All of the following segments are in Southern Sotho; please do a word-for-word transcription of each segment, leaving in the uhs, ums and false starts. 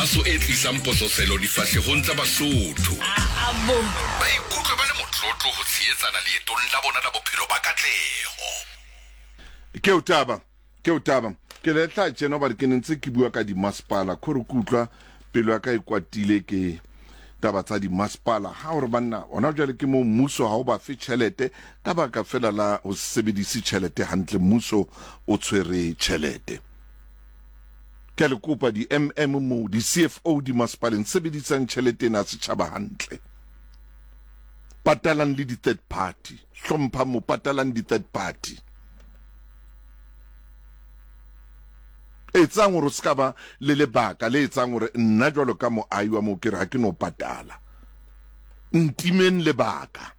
Kgaso e tlisang pososelo difahlehong tsa Basotho. Ba ikutlwe ba le motlotlo ho tshehetsana leetong la bona la bophelo ba katleho. Ke o taba, ke o taba. Ke le tla tjena hobane ke ne ntse ke bua ka dimasepala, khore ke utlwa pelo ya ka e kwatile ke taba tsa dimasepala. Ha hore banna hona jwale ke moo mmuso ha o ba fe tjhelete ka baka fela la ho se sebedise tjhelete hantle, mmuso o tshwere tjhelete. Ke a le kopa di-M M moo, di-C F O dimasepaleng, sebedisang tjhelete ena ya setjhaba hantle. Patalang le di-third party, hlomphang mo, patalang di-third party. Etsang hore o se ka ba le lebaka le etsang hore nna jwalo ka moahi wa moo ke re ha ke no patala. Ntimeng lebaka.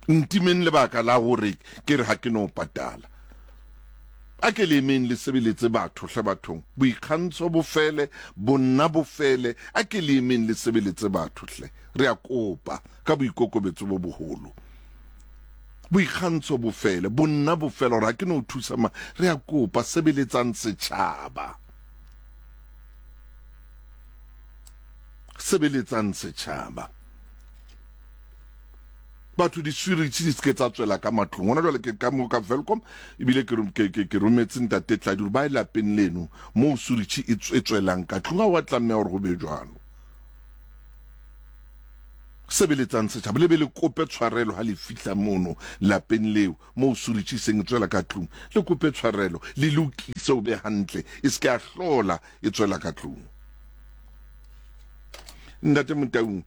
Ntimeng lebaka la hore ke re ha ke no patala. A ke le emeng le sebeletse batho hle bathong. Boikgantsho bo fele, bonna bo fele, a ke le emeng le sebeletse batho hle. Re a kopa ka boikokobetso bo boholo. Boikgantsho bo fele, bonna bo fele, hore ha ke no thusa ma, re a kopa sebeletsang setjhaba. Sebeletsang setjhaba. Batho di-switch di se ke tsa tswela ka matlong. Hona jwale ke ka mo ka Welkom, ebile ke rom-, ke, ke, ke rometse ntate Tladi hore ba ye lapeng leno moo switch e tswe-, e tswelang ka tlung. Ha wa tlameha hore ho be jwalo. Sebeletsang setjhaba, le be le kope tshwarelo ha le fihla mono lapeng leo moo switch e seng e tswela ka tlung. Le kope tshwarelo, le lokise o be hantle, e se ke ya hlola e tswela ka tlung. Ntate Motaung,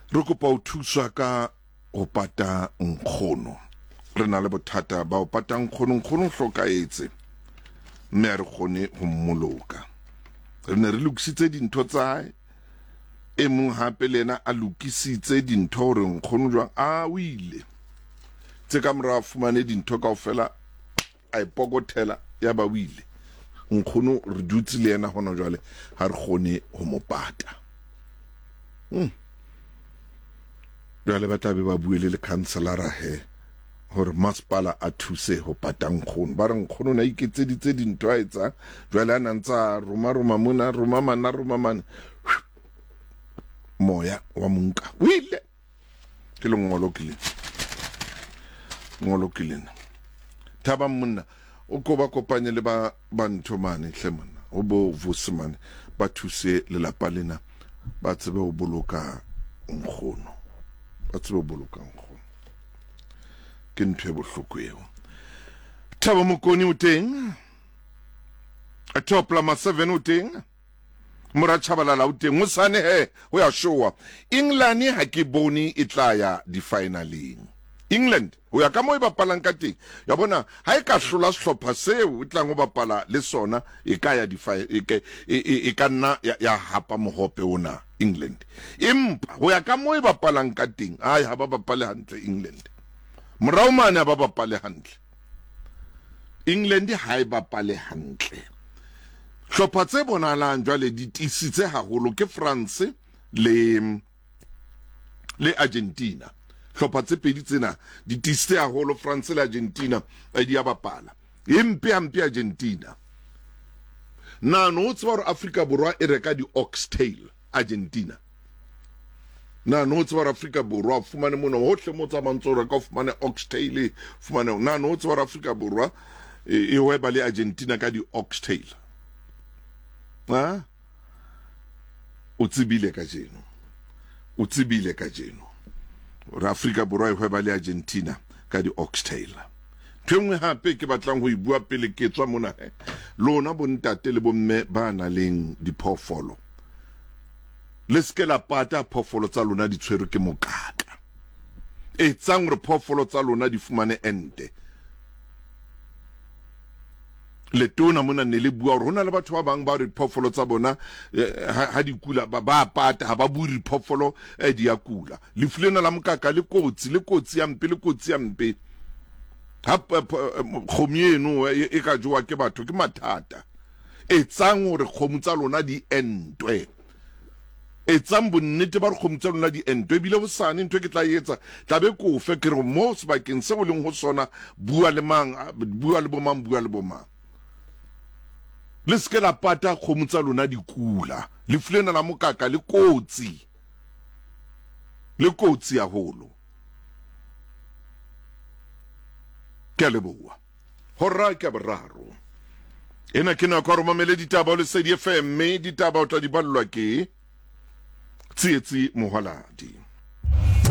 re kopa ho thuswa ka ho pata nkgono. Re na le bothata ba ho pata nkgono. Nkgono o hlokahetse mme ha re kgone ho mmoloka. Re ne re lokisitse dintho tsa hae, e mong hape le yena a lokisitse dintho hore nkgono jwang a o ile. Tse ka morao a fumane dintho kaofela, a ipokothela ya ba o ile. Nkgono re dutse le yena hona jwale, ha re kgone ho mo pata. Hmm. Jwale ba tla be ba bue le lekhanselara he hore masepala a thuse ho pata nkgono. Ba re nkgono o ne a iketseditse dintho a etsang, jwale a na ntse a roma roma mona, roma mana, roma mane. Moya wa monka o ile. Ke lengolo ke lena. Lengolo ke lena. Thabang monna, o ko ba kopanye le ba, ba ntho mane hle monna, ho bo Vusi mane, ba thuse lelapa lena, ba tsebe ho boloka nkgono. Ba tsebe ho boloka nkgono. Ke ntho e bohloko eo. Thabo Mokone o teng. Top Lama seven o teng. Mora Tshabalala o teng. Hosane he, ho ya showa. England ha ke bone e tla ya di-finaleng. England, ho ya ka moo e bapalang ka teng. Ya bona, ha e ka hlola sehlopha seo e tlang ho bapala le sona, e ka ya di-fi-, e ke, e, e, e ka nna ya, ya hapa mohope ona, England. Empa ho ya ka moo e bapalang ka teng, ai, ha ba bapale hantle England. Morao mane ha ba bapale hantle. England ha e bapale hantle. Hlopha tse bonahalang jwale di tiisitse haholo ke France le, le Argentina. Hlopha tse pedi tsena di tiisitse haholo, France le Argentina, eh, di a bapala. E mpe hampe Argentina. Na no o tseba hore Afrika Borwa e reka di-oxtail Argentina? Na no o tseba hore Afrika Borwa o fumane mona hohle mo tsamayang ntse o reka o fumane oxtail, fumane. Na no o tseba hore Afrika Borwa e, e hweba le Argentina ka di-oxtail? Ha? O tsebile kajeno. O tsebile kajeno. Hore Afrika Borwa e hweba le Argentina ka di-oxtail. Ntho e nngwe hape ke batlang ho e bua pele ke tswa mona he. Lona bontate le bomme ba nang le diphoofolo, le se ke la pata phoofolo tsa lona di tshwerwe ke mokaka. Etsang hore phoofolo tsa lona di fumane ente. Letona mona ne le bua hore ho na le batho ba bang ba re diphoofolo tsa bona, eh, ha, ha di kula, ba, ba pata, ha ba bue diphoofolo, eh, di a kula. Lefu lena la mokaka le kotsi, le kotsi ya mpe, le kotsi ya mpe. Ha p-, p-, kgomo eno, eh, e ka jowa ke batho, ke mathata. Etsang hore kgomo tsa lona di entwe. Etsang bonnete ba hore kgomo tsa lona di entwe. Ebile hosane ntho e ke tla e etsa, tla be ke o fe, ke re mo sebakeng seo o leng ho sona, bua le mang, bua le bo mang, bua le bo mang. Le se ke la pata kgomo tsa lona di kula. Lefu lena la mokaka le kotsi, le kotsi haholo. Ke a leboha. Hora ke ya boraro. Ena ke nako ya hore mamele ditaba ho Lesedi F M, mme ditaba o tla di ballwa ke Tsietsi Mohwaladi.